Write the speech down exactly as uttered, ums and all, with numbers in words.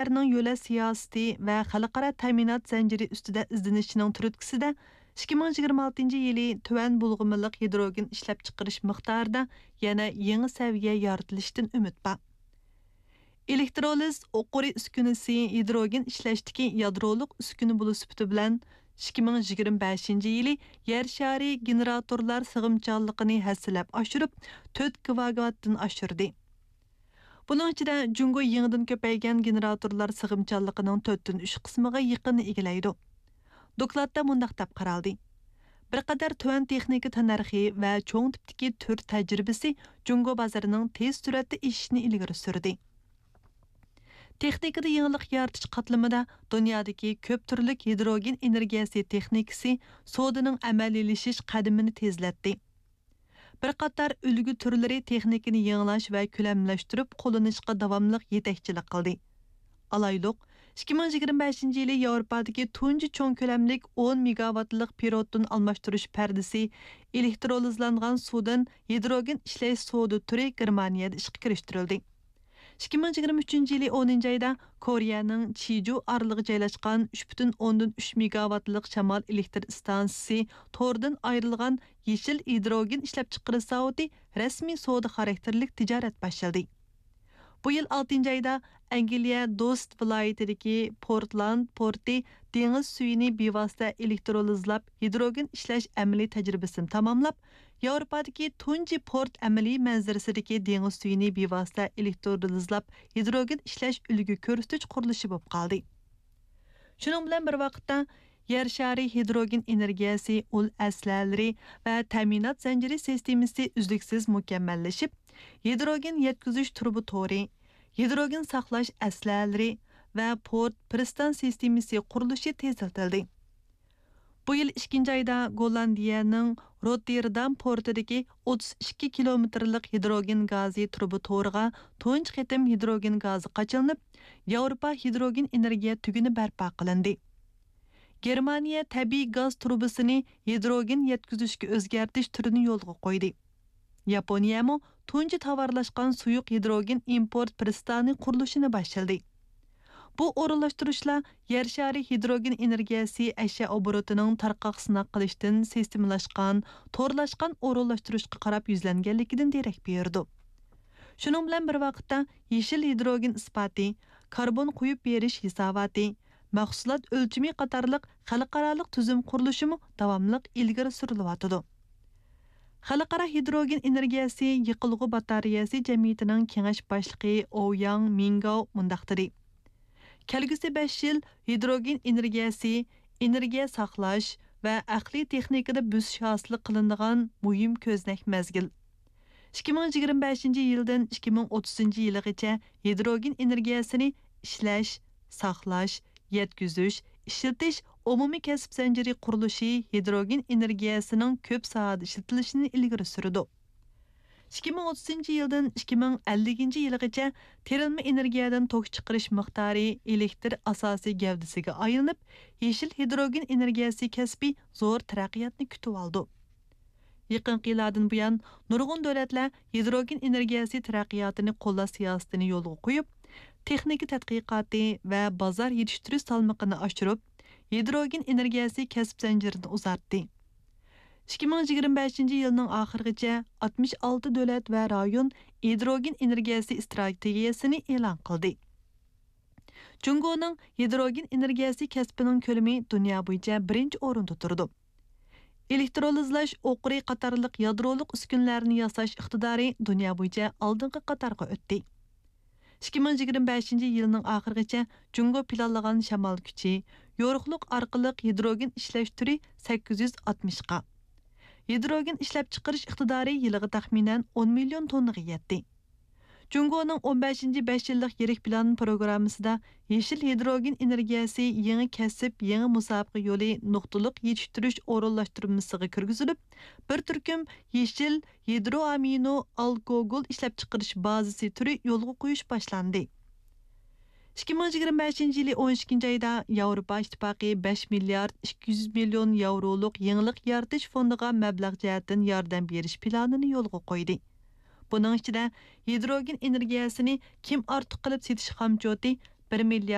دۆلەتلەرنىڭ يۆلەش سىياسىتى ۋە خەلقئارا تەمىنات زەنجىرى ئۈستىدە ئىزدىنىشىنىڭ تۈرتكىسىدە، ئىككى مىڭ يىگىرمە ئالتىنچى يىلى تۆۋەن بۇلغىمىلىق ھىدروگېن ئىشلەپچىقىرىش مىقدارىدا يەنە يېڭى سەۋىيە يارىتىلىشىدىن ئۈمىد بار. ئېلېكترولىز ئوقۇرى ئۈسكۈنىسى ھىدروگېن ئىشلەشتىكى يادرولۇق ئۈسكۈنە بولۇش سۈپىتى بىلەن، ئىككى مىڭ يىگىرمە بەشىنچى يىلى يەر شارى گېنېراتورلار سىغىمچانلىقىنى ھەسسىلەپ ئاشۇرۇپ، تۆت گىگاۋاتتىن ئاشۇردى. بۇنىڭ ئىچىدە جۇڭگو يېڭىدىن كۆپەيگەن گېنېراتورلار سىغىمچانلىقىنىڭ تۆتتىن ئۈچ قىسمىغا يېقىنىنى ئىگىلەيدۇ. دوكلاتتا مۇنداق دەپ قارالدى: بىر قەدەر تۆۋەن تېخنىكا تەننەرخى ۋە چوڭ تىپتىكى تۈر تەجرىبىسى جۇڭگو بازىرىنىڭ تېز سۈرئەتتە ئېشىشىنى ئىلگىرى سۈردى. تېخنىكىدا يېڭىلىق يارىتىش قاتلىمىدا دۇنيادىكى كۆپ تۈرلۈك ھىدروگېن ئېنېرگىيەسى تېخنىكىسى سودىنىڭ ئەمەلىيلىشىش قەدىمىنى تېزلەتتى. بىر قاتار ئۈلگە تۈرلىرى تېخنىكىنى يېڭىلاش ۋە كۆلەملەشتۈرۈپ قوللىنىشقا داۋاملىق يېتەكچىلىك قىلدى. ئالايلۇق، ئىككى مىڭ يىگىرمە بەشىنچى يىلى ياۋروپادىكى تۇنجى چوڭ كۆلەملىك ئون مېگاۋاتلىق پېرودتىن ئالماشتۇرۇش پەردىسى ئېلېكترولىزلانغان سۇدىن ھىدروگېن ئىشلەش سودا تۈرى گېرمانىيەدە ئىشقا كىرىشتۈرۈلدى. ئىككى مىڭ يىگىرمە ئۈچىنچى يىلى ئونىنچى ئايدا كورېيەنىڭ چىجۇ ئارىلىغا جايلاشقان ئۈچ پۈتۈن ئوندىن ئۈچ مېگاۋاتلىق شامال ئېلېكتر ئىستانسىسى تورىدىن ئايرىلغان يېشىل ھىدروگېن ئىشلەپچىقىرىش زاۋۇتى رەسمىي سودا خاراكتېرلىك تىجارەت باشلىدى. بۇ يىل ئالتىنچى ئايدا ئەنگلىيە دوست ۋىلايىتىدىكى پورتلاند پورتى دېڭىز سۈيىنى بىۋاسىتە ئېلېكترولىزلاپ ھىدروگېن ئىشلەش ئەمەلىي تەجرىبىسىنى تاماملاپ، ياۋروپادىكى تۇنجى پورت ئەمەلىي مەنزىرىسىدىكى دېڭىز سۈيىنى بىۋاسىتە ئېلېكترولىزلاپ ھىدروگېن ئىشلەش ئۈلگە كۆرسىتىش قۇرۇلۇشى بولۇپ قالدى. شۇنىڭ بىلەن بىر ۋاقىتتا، يەر شارى ھىدروگېن ئېنېرگىيەسى ئۇل ئەسلىھەلىرى ۋە تەمىنات زەنجىرى سىستېمىسى ئۈزلۈكسىز مۇكەممەللىشىپ، ھىدروگېن يەتكۈزۈش تۇرۇبا تورى، ھىدروگېن ساقلاش ئەسلىھەلىرى ۋە پورت پىرىستان سىستېمىسى قۇرۇلۇشى تېزلىتىلدى. بۇ يىل ئىككىنچى ئايدا گوللاندىيەنىڭ روتتېردام پورتىدىكى ئوتتۇز ئىككى كىلومېتىرلىق ھىدروگېن گازى تۇرۇبا تورىغا تۇنجى قېتىم ھىدروگېن گازى قاچىلىنىپ، ياۋروپا ھىدروگېن ئېنېرگىيە تۈگۈنى بەرپا قىلىندى. گېرمانىيە تەبىئىي گاز تۇرۇبىسىنى ھىدروگېن يەتكۈزۈشكە ئۆزگەرتىش تۈرىنى يولغا قويدى. ياپونىيەمۇ تۇنجى تاۋارلاشقان سۇيۇق ھىدروگېن ئىمپورت پىرىستانى قۇرۇلۇشىنى باشلىدى. بۇ ئورۇنلاشتۇرۇشلار يەر شارى ھىدروگېن ئېنېرگىيەسى ئەشيا ئوبوروتىنىڭ تارقاق سىناق قىلىشتىن سىستېمىلاشقان، تورلاشقان ئورۇنلاشتۇرۇشقا قاراپ يۈزلەنگەنلىكىدىن دېرەك بېرىدۇ. شۇنىڭ بىلەن بىر ۋاقىتتا، يېشىل ھىدروگېن ئىسپاتى، كاربون قويۇپ بېرىش ھېساباتى، مەھسۇلات ئۆلچىمى قاتارلىق خەلقئارالىق تۈزۈم قۇرۇلۇشىمۇ داۋاملىق ئىلگىرى سۈرۈلۈۋاتىدۇ. خەلقئارا ھىدروگېن ئېنېرگىيەسى يېقىلغۇ باتارېيەسى جەمئىيىتىنىڭ كېڭەش باشلىقى ئوۋياڭ مىڭگاۋ مۇنداق دېدى: كەلگۈسى بەش يىل ھىدروگېن ئېنېرگىيەسى، ئېنېرگىيە ساقلاش ۋە ئەقلىي تېخنىكىدا بۆسۈش ھاسىل قىلىنىدىغان مۇھىم كۆزنەك مەزگىل. ئىككى مىڭ يىگىرمە بەشىنچى يىلدىن ئىككى مىڭ ئوتتۇزىنچى يىلىغىچە ھىدروگېن ئېنېرگىيەسىنى ئىشلەش، ساقلاش، يەتكۈزۈش، ئىشلىتىش ئومۇمىي كەسىپ زەنجىرى قۇرۇلۇشى ھىدروگېن ئېنېرگىيەسىنىڭ كۆپ ساھەدە ئىشلىتىلىشىنى ئىلگىرى سۈرىدۇ. ئىككى مىڭ ئوتتۇزىنچى يىلدىن ئىككى مىڭ ئەللىكىنچى يىلىغىچە تېرىلمە ئېنېرگىيەدىن توك چىقىرىش مىقدارى ئېلېكتر ئاساسىي گەۋدىسىگە ئايلىنىپ، يېشىل ھىدروگېن ئېنېرگىيەسى كەسپى زور تەرەققىياتنى كۈتۈۋالىدۇ. يېقىنقى يىللاردىن بۇيان، نۇرغۇن دۆلەتلەر ھىدروگېن ئېنېرگىيەسى تەرەققىياتىنى قوللاش سىياسىتىنى يولغا قويۇپ، تېخنىكا تەتقىقاتى ۋە بازار يېتىشتۈرۈش سالمىقىنى ئاشۇرۇپ، ھىدروگېن ئېنېرگىيەسى كەسىپ زەنجىرىنى ئۇزارتتى. ئىككى مىڭ يىگىرمە بەشىنچى يىلنىڭ ئاخىرىغىچە ئاتمىش ئالتە دۆلەت ۋە رايون ھىدروگېن ئېنېرگىيەسى ئىستراتېگىيەسىنى ئېلان قىلدى. جۇڭگونىڭ ھىدروگېن ئېنېرگىيەسى كەسپىنىڭ كۆلىمى دۇنيا بويىچە بىرىنچى ئورۇندا تۇرىدۇ. ئېلېكترولىزلاش ئوقۇرى قاتارلىق يادرولۇق ئۈسكۈنىلەرنى ياساش ئىقتىدارى دۇنيا بويىچە ئالدىنقى قاتارغا ئۆتتى. ئىككى مىڭ يىگىرمە بەشىنچى يىلنىڭ ئاخىرىغىچە جۇڭگو پىلانلىغان شامال كۈچى، يورۇقلۇق ئارقىلىق ھىدروگېن ئىشلەش تۈرى سەككىز يۈز ئاتمىشقا، ھىدروگېن ئىشلەپچىقىرىش ئىقتىدارى يىلىغا تەخمىنەن ئون مىليون توننىغا يەتتى. جۇڭگونىڭ ئون بەشىنچى بەش يىللىق يىرىك پىلان پروگراممىسىدا يېشىل ھىدروگېن ئېنېرگىيەسى يېڭى كەسىپ، يېڭى مۇسابىقە يولى نۇقتىلىق يېتىشتۈرۈش ئورۇنلاشتۇرمىسىغا كىرگۈزۈلۈپ، بىر تۈركۈم يېشىل ھىدرو ئامىنو ئالكوگول ئىشلەپچىقىرىش بازىسى تۈرى يولغا قويۇش باشلاندى. ئىككى مىڭ يىگىرمە بەشىنچى يىلى ئون ئىككىنچى ئايدا ياۋروپا ئىتتىپاقى بەش مىليارد ئىككى يۈز مىليون ياۋرولۇق يېڭىلىق يارىتىش فوندىغا مەبلەغ جەھەتتىن ياردەم بېرىش پىلانىنى يولغا قويدى. بۇنىڭ ئىچىدە ھىدروگېن ئېنېرگىيەسىنى كىم ئارتۇق قىلىپ سېتىش خامچوتى بىر مىليارد